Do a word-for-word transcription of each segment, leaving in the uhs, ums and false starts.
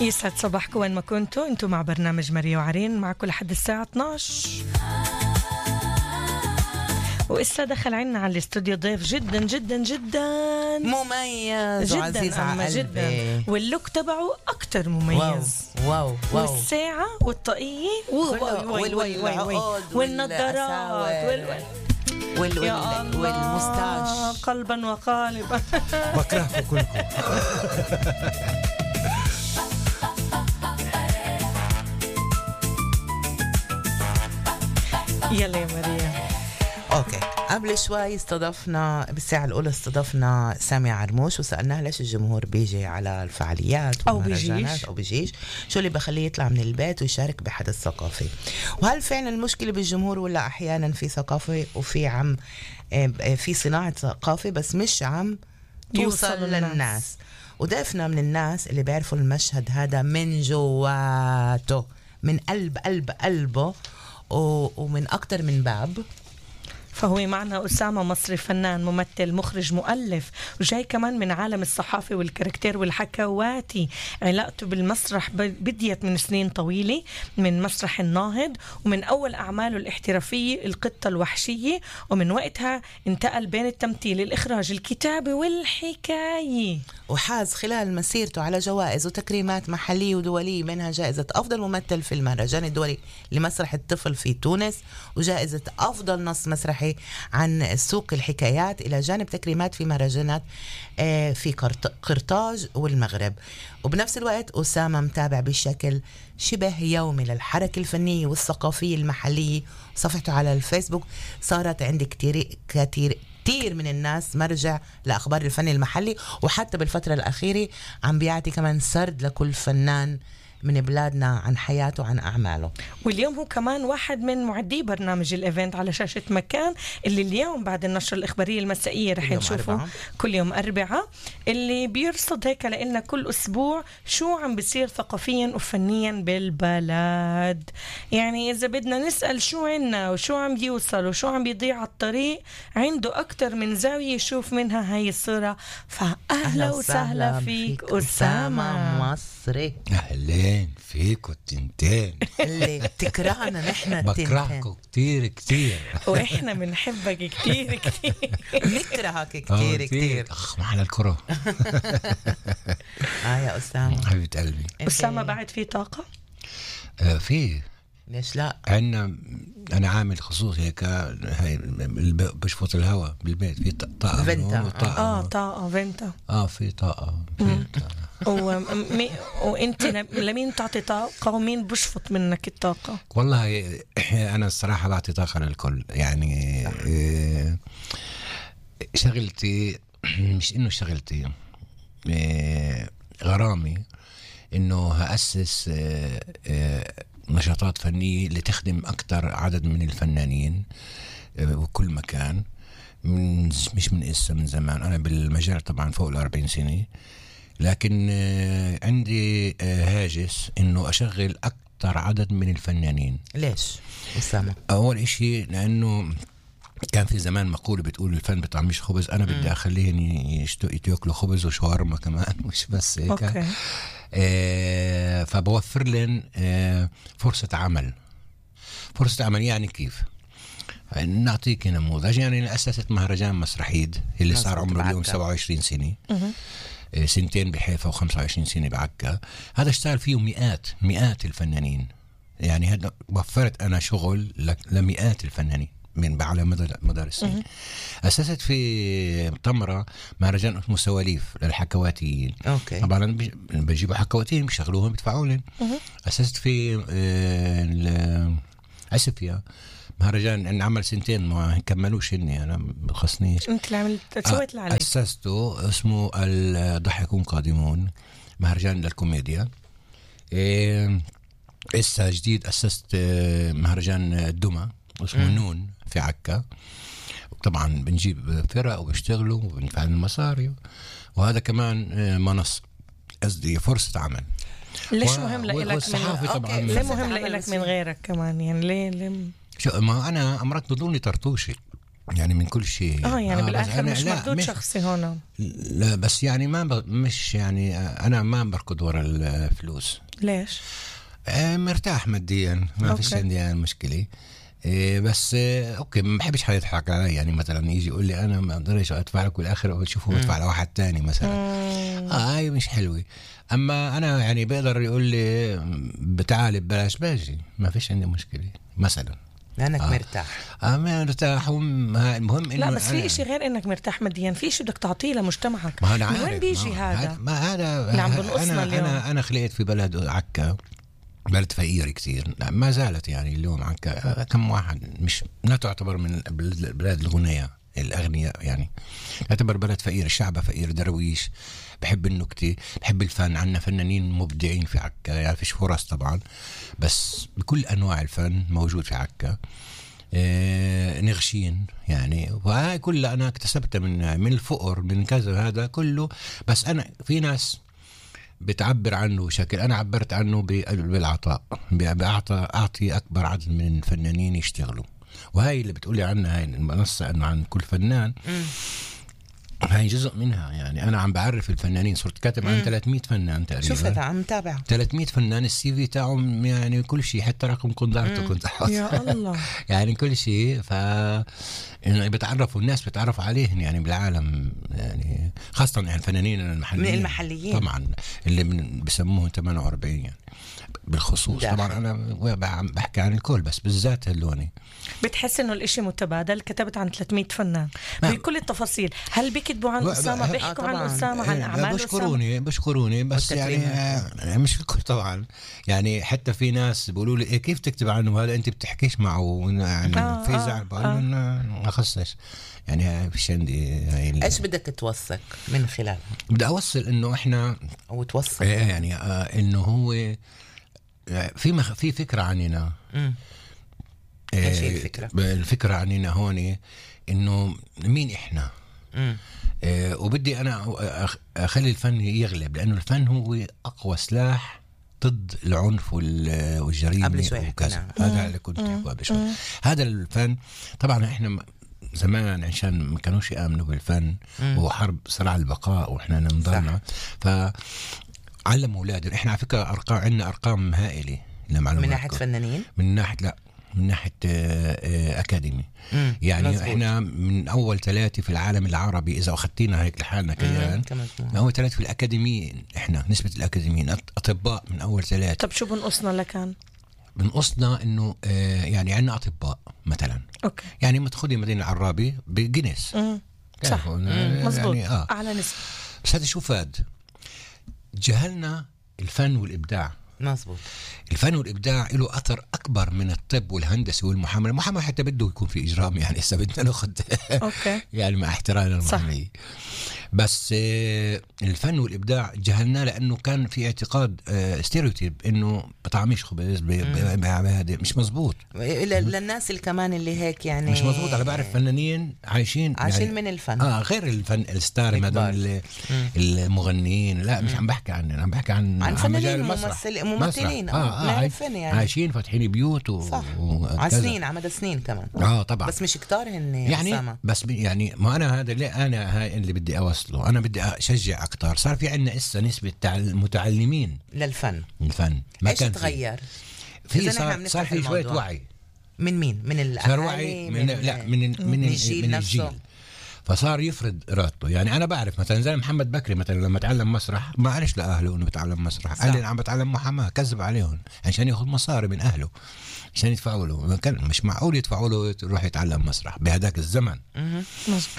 يسعد صباحكم وين ما كنتوا. انتوا مع برنامج ماريا وعرين معكم لحد الساعة اثناشر. وإسا دخل عنا على الاستوديو ضيف جدا جدا جدا مميز جدا وعزيز على قلبي جدا، واللوك تبعه أكتر مميز. واو واو والساعة والطاقية والنظارات والمستاش قلبا وقالبا. بكرهكم كلكم. يلا يا ماريا. اوكي، قبل شوي استضفنا بالساعة الأولى استضفنا سامي عرموش وسألناه ليش الجمهور بيجي على الفعاليات أو بيجيش أو بيجيش شو اللي بخليه يطلع من البيت ويشارك بحدث ثقافي، وهل فعلا المشكلة بالجمهور ولا أحيانا في ثقافة وفي عم في صناعة ثقافة بس مش عم توصل للناس. وضيفنا من الناس اللي بيعرفوا المشهد هذا من جواته، من قلب قلب قلبه ومن أكتر من باب. فهو معنا أسامة مصري، فنان ممثل مخرج مؤلف، وجاي كمان من عالم الصحافة والكاركتير والحكواتي. علاقته بالمسرح بديت من سنين طويلة من مسرح الناهض، ومن أول أعماله الاحترافية القطة الوحشية، ومن وقتها انتقل بين التمثيل الإخراج الكتابة والحكاية، وحاز خلال مسيرته على جوائز وتكريمات محلية ودولية، منها جائزة أفضل ممثل في المهرجان الدولي لمسرح الطفل في تونس، وجائزة أفضل نص مسرحي عن سوق الحكايات، إلى جانب تكريمات في مهرجانات في قرطاج والمغرب. وبنفس الوقت أسامة متابع بشكل شبه يومي للحركة الفنية والثقافية المحلية. صفحته على الفيسبوك صارت عندي كتير كتير كتير من الناس مرجع لأخبار الفن المحلي، وحتى بالفترة الأخيرة عم بيعطي كمان سرد لكل فنان من بلادنا عن حياته وعن أعماله. واليوم هو كمان واحد من معدي برنامج الإيفنت على شاشة مكان، اللي اليوم بعد النشرة الإخبارية المسائية رح نشوفه كل يوم أربعة، اللي بيرصد هيك لنا كل أسبوع شو عم بيصير ثقافيا وفنيا بالبلد. يعني إذا بدنا نسأل شو عنا وشو عم بيوصل وشو عم بيضيع على الطريق، عنده أكتر من زاوية يشوف منها هاي الصورة. فأهلا وسهلا فيك أسامة مصري. أهلين فيكو التنتين اللي بتكرهنا نحن التنتين. بكرهكو كتير كتير وإحنا منحبك كتير كتير نكرهك كتير كتير. أخ محل الكرة. آه يا أسامة حبيبة قلبي. أسامة بعد في طاقة؟ آه فيه، ليش لا؟ عنا أنا عامل خصوصي هيك، هاي بشفط الهواء بالبيت في طاقة فينتا. آه طاقة فينتا. آه في طاقة فينتا. ومي... وانت لمين تعطي طاقة ومين بشفط منك الطاقة؟ والله أنا الصراحة بعطي طاقة للكل. يعني شغلتي مش إنه شغلتي غرامي إنه هأسس نشاطات فنية اللي تخدم أكتر عدد من الفنانين وكل مكان. من مش من إسا من زمان أنا بالمجال طبعا فوق الأربعين سنة، لكن عندي هاجس إنه أشغل أكتر عدد من الفنانين. ليش أسامة؟ أول إشي لأنه كان في زمان مقولة بتقول الفن بطعميش خبز، أنا بدي أخليهم ياكلوا خبز وشاورما كمان، مش بس هيك. أوكي. آه فبوفر لهم آه فرصة عمل. فرصة عمل يعني كيف؟ نعطيك نموذج. يعني أسست مهرجان مسرحيد اللي صار عمره اليوم سبعة وعشرين سنة، سنتين بحيفا وخمسة وعشرين سنة بعكا. هذا اشتغل فيه مئات مئات الفنانين. يعني هذا وفرت أنا شغل لمئات الفنانين من على مدار السنين. أسست في طمرة مهرجان اسمه سواليف للحكواتيين. أوكي. طبعا بجيبوا حكواتيين بيشغلوهم بيدفعوا لهم. أسست في عسفيا مهرجان ان عمل سنتين ما كملوش اني انا ما خصنيش. انت اللي عملت سويت اللي عليك. اسسته اسمه الضحكون قادمون، مهرجان للكوميديا. إيه اسا جديد اسست مهرجان الدمى اسمه م. نون في عكا. طبعا بنجيب فرق وبيشتغلوا وبندفع المصاري، وهذا كمان منصة قصدي فرصة عمل. ليش و... مهم لإلك من... طبعا ليه مهم لإلك من غيرك كمان؟ يعني ليه ليه شو ما أنا أمرت بدوني طرطوشي يعني من كل شيء. اه يعني آه بالاخر مش مردود شخصي هون. لا بس يعني ما ب... مش يعني انا ما بركض ورا الفلوس. ليش؟ آه مرتاح ماديا، ما فيش عندي يعني مشكله. إيه بس إيه اوكي ما بحبش حد يضحك علي، يعني مثلا يجي يقول لي انا ما اقدرش ادفع لك والاخر اقول شوفوا بدفع لواحد تاني مثلا. مم. اه هاي مش حلوه. اما انا يعني بقدر يقول لي بتعالي ببلاش باجي، ما فيش عندي مشكله مثلا لانك آه. مرتاح. اه مرتاح. المهم لا بس في إشي غير انك مرتاح ماديا، في إشي بدك تعطيه لمجتمعك. ما أنا من وين بيجي ما هذا؟ ما هذا اللي عم بنقصنا انا اليوم. انا انا خلقت في بلد عكا، بلد فقير كتير، ما زالت يعني اليوم عكا كم واحد مش لا تعتبر من البلاد الغنية الأغنياء، يعني يعتبر بلد فقير، الشعب فقير درويش، بحب النكتة، بحب الفن، عنا فنانين مبدعين في عكا، يعني فيش فرص طبعا بس بكل أنواع الفن موجود في عكا. اه نغشين يعني، وهاي كلها أنا اكتسبتها من من الفقر من كذا هذا كله. بس أنا في ناس بتعبر عنه بشكل، أنا عبرت عنه بالعطاء، بأعطى أعطي أكبر عدد من الفنانين يشتغلوا. وهاي اللي بتقولي عنها هاي المنصة أنه عن كل فنان م. هاي جزء منها. يعني أنا عم بعرف الفنانين، صرت كاتب عن ثلاثمية فنان تقريبا. شوفت عم تابع ثلاثمية فنان، السي في تاعهم يعني كل شيء، حتى رقم قنطرته كنت أحط يا الله يعني كل شيء. ف بتعرفوا الناس بتعرف عليهم يعني بالعالم، يعني خاصة يعني الفنانين المحليين المحليين طبعا اللي بسموهم ثمانية وأربعين يعني بالخصوص داخل. طبعا أنا بحكي عن الكل بس بالذات هاللوني. بتحس إنه الإشي متبادل؟ كتبت عن ثلاثمية فنان بكل التفاصيل، هل بيكتبوا عن أسامة، بيحكوا عن أسامة، عن أعمال بشكروني أسامة؟ بشكروني بس يعني مش الكل طبعا. يعني حتى في ناس بيقولوا لي إيه كيف تكتب عنه هذا، أنت بتحكيش معه يعني آه في زعل. بقول آه. ما أخصش يعني فيش عندي. إيش بدك توثق من خلالها؟ بدي أوصل إنه إحنا أو توصل يعني آه إنه هو في مخ... في فكرة عننا. امم ايش هي الفكرة؟ الفكرة عننا هون انه مين احنا. امم آه وبدي انا أخ... اخلي الفن يغلب، لانه الفن هو اقوى سلاح ضد العنف وال... والجريمة وكذا. هذا اللي كنت قبل شوي. هذا الفن طبعا احنا زمان عشان ما كانوش يآمنوا بالفن وحرب صراع البقاء واحنا نضلنا، ف علم أولادنا. إحنا على فكرة أرقام عندنا أرقام هائلة لمعلوماتكم. من ناحية فنانين؟ من ناحية لا من ناحية أكاديمي. يعني مزبوط. إحنا من أول ثلاثة في العالم العربي إذا أخذتينا هيك لحالنا كيان، من أول ثلاثة في الأكاديميين. إحنا نسبة الأكاديميين أطباء من أول ثلاثة. طب شو بنقصنا لكان؟ بنقصنا إنه يعني عندنا أطباء مثلا. أوكي. يعني ما تاخذي مدينة العرابي بجنس. صح. مزبوط. يعني آه. أعلى نسبة. بس هذا شو فاد؟ جهلنا الفن والإبداع. مظبوط. الفن والإبداع له أثر أكبر من الطب والهندسة والمحاماة. المحاماة حتى بده يكون في إجرام، يعني إذا بدنا ناخذ يعني مع احترام المحامية. بس آه الفن والإبداع جهلنا لأنه كان في اعتقاد آه ستيريوتيب إنه بطعميش خبز هذا مش مزبوط. للناس اللي كمان اللي هيك يعني مش مزبوط. أنا بعرف فنانين عايشين عايشين يعني من الفن. آه غير الفن الستار هذول المغنيين. لا مش عم بحكي عن أنا عم بحكي عن عن فنانين ممثلين. آه آه عايشين, يعني. عايشين فاتحين بيوت و... على سنين على مدى سنين كمان. اه طبعا. بس مش كتار هن يعني أسامة. بس يعني ما انا هذا اللي انا هاي اللي بدي اوصله. انا بدي اشجع اكتر. صار في عندنا اسا نسبه متعلمين للفن. الفن ما ايش تغير؟ في صار, صار في شويه وعي. من مين؟ من الاهالي؟ من, من لا من من, من الجيل, من الجيل. فصار يفرض إرادته. يعني أنا بعرف مثلا زي محمد بكري مثلا لما تعلم مسرح ما قالش لأهله إنه بتعلم مسرح، قال لي أنا عم بتعلم محاماة، كذب عليهم عشان ياخذ مصاري من أهله عشان يدفعوا له. كان مش معقول يدفعوا له يروح يتعلم مسرح بهداك الزمن.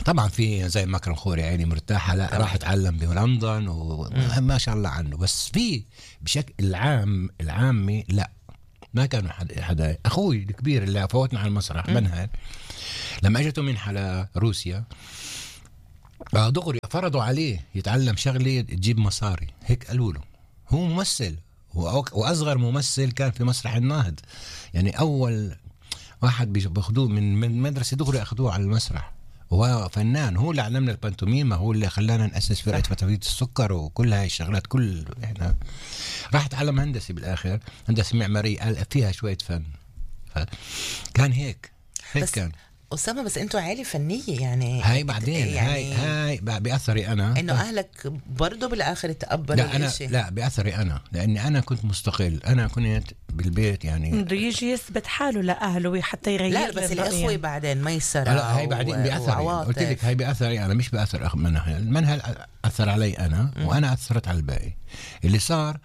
طبعا في زي مكرم خوري عيني مرتاحة لا راح يتعلم بلندن وما شاء الله عنه. بس في بشكل العام العامي لا ما كانوا حدا. أخوي الكبير اللي فوتنا على المسرح منهل لما اجته منحة لروسيا دغري فرضوا عليه يتعلم شغلة تجيب مصاري. هيك قالوا له هو ممثل وأصغر ممثل كان في مسرح النهض. يعني أول واحد بياخدوه من مدرسة دغري أخذوه على المسرح. هو فنان، هو اللي علمنا البانتوميما، هو اللي خلانا نأسس فرقة فتافيت السكر وكل هاي الشغلات. كل احنا راح تعلم هندسي بالآخر، هندسة معمارية قال فيها شوية فن. كان هيك هيك كان. أسامة بس أنتوا عائلة فنية يعني هاي بعدين يعني هاي هاي بأثري أنا إنه أهلك برضو بالآخر تقبلوا لا أنا الإشي. لا بأثري أنا لأني أنا كنت مستقل. أنا كنت بالبيت يعني بده يجي يثبت حاله لأهله حتى يغير. لا بس الإخوة بعدين ما يسرع. لا هاي بعدين بأثري. قلت لك هاي بأثري أنا مش بأثر أخ منها. المنهل أثر علي أنا م. وأنا أثرت على الباقي. اللي صار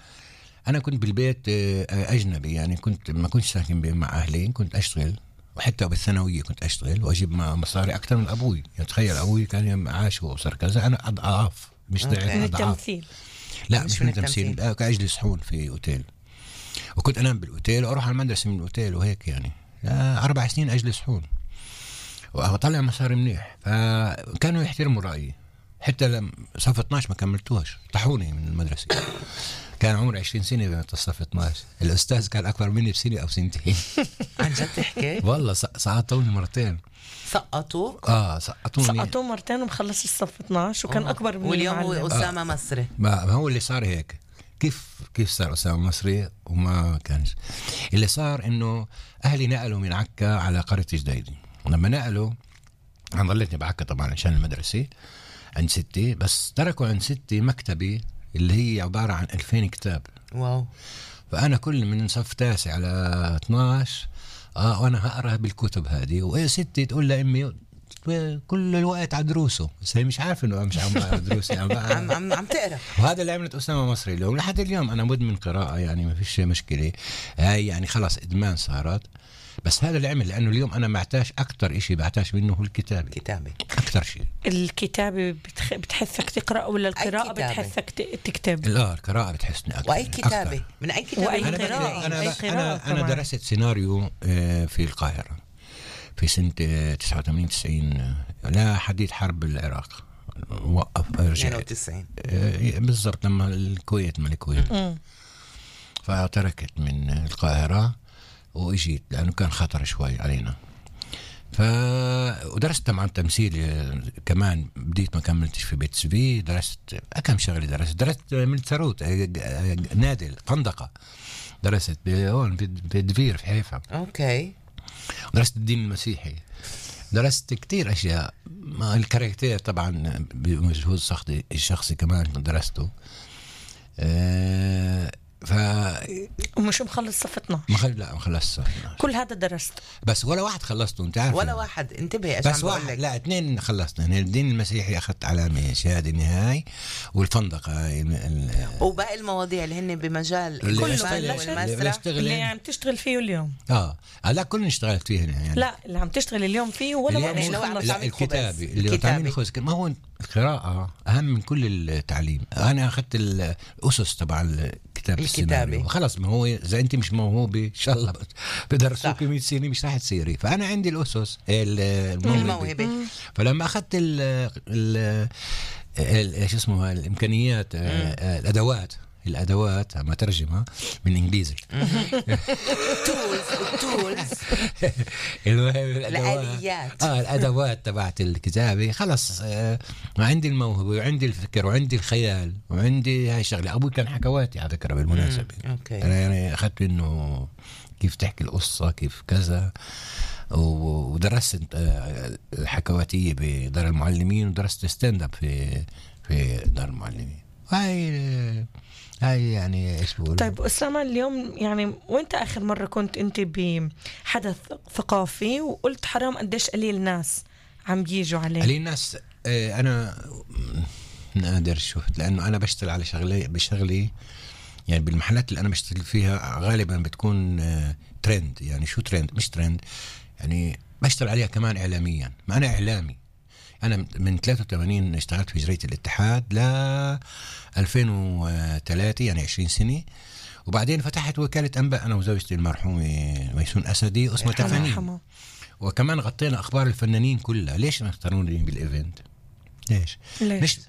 أنا كنت بالبيت أجنبي يعني كنت ما كنت ساكن مع أهلي كنت أشتغل وحتى بالثانوية كنت أشتغل وأجيب مصاري أكثر من أبوي. يعني تخيل أبوي كان معاش وأسر كذا أنا أضعاف مش ضعف أضعاف. لا مش من التمثيل أجلس حون في أوتيل وكنت أنام بالأوتيل وأروح على المدرسة من الأوتيل وهيك يعني أربع سنين أجلس حون وأطلع مصاري منيح. فكانوا يحترموا رأيي حتى لما صف اثناشر ما كملتوش طحوني من المدرسة. كان عمري عشرين سنة بين الصف اثناشر. الأستاذ كان أكبر مني بسنة أو سنتين. عن جد تحكي؟ والله سقطوني مرتين. سقطوك؟ آه سقطوني سقطوه مرتين ومخلص الصف اثناشر وكان أكبر مني. واليوم هو أسامة آه. مصري. ما هو اللي صار هيك. كيف كيف صار أسامة مصري وما كانش. اللي صار إنه أهلي نقلوا من عكا على قرية جديدة. ولما نقلوا أنا ضليتني بعكا طبعا عشان المدرسة عند ستي بس تركوا عند ستي مكتبي اللي هي عبارة عن ألفين كتاب. واو. فأنا كل من صف تاسع على اثناشر آه وأنا هقرأ بالكتب هذه وإيه ستي تقول لأمي كل الوقت على دروسه بس هي مش عارف إنه مش عم على دروسي عم عم عم, عم تقرأ. وهذا اللي عملت أسامة مصري اليوم لحد اليوم أنا مدمن قراءة يعني ما فيش مشكلة. هاي يعني خلاص إدمان صارت. بس هذا اللي عمل لأنه اليوم أنا معتاش أكتر إشي بعتاش منه هو الكتابة. كتابة أكتر شيء. الكتابة بتخ... بتحثك تقرأ ولا القراءة بتحثك تكتب؟ لا القراءة بتحسني أكتر. وأي كتابة أكتر. من أي كتابة؟ وأي أنا قراءة. أنا, أي أنا, أنا, أنا درست سيناريو في القاهرة في سنة تسعة وثمانين تسعين لا حديث حرب العراق وقف اثنين وتسعين بالضبط لما الكويت من الكويت فتركت من القاهرة وإجيت لأنه كان خطر شوي علينا. ف ودرست طبعا تمثيل كمان بديت ما كملتش في بيت سبي درست كم شغلة درست درست من ثروت نادل فندقة درست هون في دفير في حيفا. أوكي. درست الدين المسيحي درست كتير أشياء الكاركتير طبعا بمجهود شخصي الشخصي كمان درسته. أه ف ومش مخلص صف اثناشر. ما خل... لا ما خلصت صف اثناشر. كل هذا درست بس ولا واحد خلصته انت عارف ولا واحد انتبه بس واحد لا اثنين خلصنا يعني الدين المسيحي اخذت علامه شهاده نهائي والفندقه ال... وباقي المواضيع اللي هن بمجال كله والمسرح اللي عم تشتغل فيه اليوم. اه لا كلنا اشتغلت فيه يعني لا اللي عم تشتغل اليوم فيه ولا يعني ما عم لا الكتابه اللي تعمل خبز ما هو القراءه اهم من كل التعليم. انا اخذت الاسس تبع الكتاب الكتابه وخلص ما هو اذا انت مش موهوبه ان شاء الله بدرسوك مية سنه مش راح تصيري. فانا عندي الاسس الموهبه. فلما اخذت ال ايش اسمه الامكانيات الادوات الادوات ما ترجمها من انجليزي تولز تولز الاليات اه الادوات تبعت الكتابه خلص. آه ما عندي الموهبه وعندي الفكر وعندي الخيال وعندي هاي الشغله. ابوي كان حكواتي على فكره بالمناسبه. انا يعني اخذت انه كيف تحكي القصه كيف كذا ودرست الحكواتيه بدار المعلمين ودرست ستاند اب في في دار المعلمين. هاي هاي يعني ايش بقول. طيب أسامة اليوم يعني وانت آخر مرة كنت انت بحدث ثقافي وقلت حرام قديش قليل ناس عم بيجوا عليه؟ قليل ناس. اه انا نادر شفت لانه انا بشتغل على شغلي بشغلي يعني بالمحلات اللي انا بشتغل فيها غالبا بتكون اه ترند. يعني شو ترند مش ترند يعني بشتغل عليها كمان اعلاميا. ما انا اعلامي. أنا من ثلاثة وثمانين اشتغلت في جريدة الاتحاد ل ألفين وثلاثة يعني عشرين سنة. وبعدين فتحت وكالة أنباء أنا وزوجتي المرحومة ميسون أسدي اسمها تفانين. وكمان غطينا أخبار الفنانين كلها. ليش ما اختاروني بالإيفنت؟ ليش؟ ليش؟ مش